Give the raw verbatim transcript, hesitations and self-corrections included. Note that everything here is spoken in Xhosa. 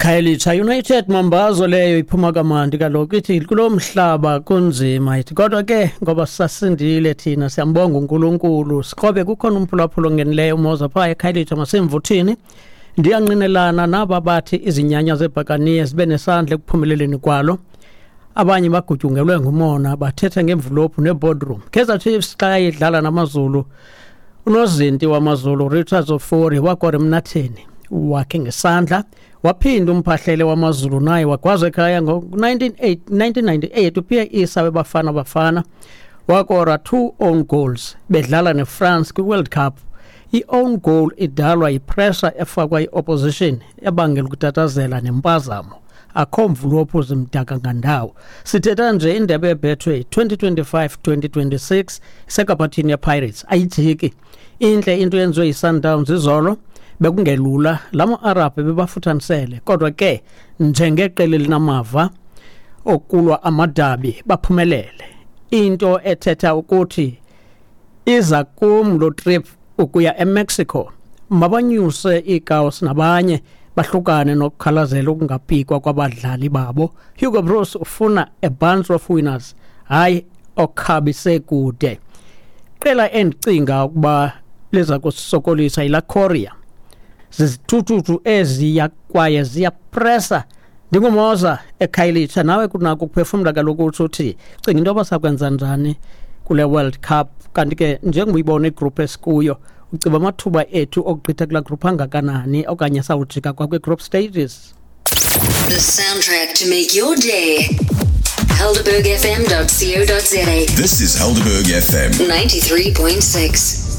Khayelitsha United Mambazo leyo iphuma kamandi kaloku ithi kulo mhlaba kunzima ithi kodwa ke ngoba sasindile thina siyambonga uNkulunkulu sikrobe kukhona umphulaphula ongenileyo umoza phaa eKhayelitsha masemvuthini. Ndiyanqinelana naba bathi izinyanya zebhakaniye zibe nesandla ekuphumeleleni kwalo. Abanye bagutyungelwe ngumona bathetha ngemvulophu neboardroom. Kaizer Chiefs xa idlala namaZulu, unozinti wamaZulu Richards Ofori wakora emnatheni wakhe ngesandla, waphinda umphahlele wamaZulu naye wagwaza ekhaya ngo-nineteen ninety-eight uPierre Issa weBafana Bafana wakora two own goals bedlala neFrance kwi-World Cup. I-own goal idalwa yipressure efakwa yi-opposition ebangela ukutatazela nempazamo. Akho mvulophu zimdaka ngandawo. Sithetha nje indebe yeBetway twenty twenty-five twenty twenty-six isekaphathini yePirates ayijiki. Intle into yenziwe yiSundowns izolo, bekungelula lama Arab bebafuthanisele, kodwa ke njengeqela elinamava okulwa amadabi baphumelele. Into ethetha ukuthi iza kum lo trip ukuya eMexico, mabanyuse iikawusi nabanye bahlukane nokukhalazela ukungapikwa kwabadlali babo. Hugo Broos ufuna a bunch of winners, hayi okhabise kude. Qela endicinga ukuba liza kusisokolisa yila Korea. Zizithuthuthu eziya kwaye ziyapressa. Ndingumoza eKhayelitsha, nawe kunako ukuphefumla kaloku utsho uthi cinga into yoba sakwenza njani kule World Cup. Kanti ke njengoba uyibona igroup esikuyo, uciba amathuba ethu okugqitha kulaa group angakanani okanye sawujika kwakwi-group stages. The soundtrack to make your day. Helderberg F M dot co dot za. This is Helderberg F M ninety-three point six.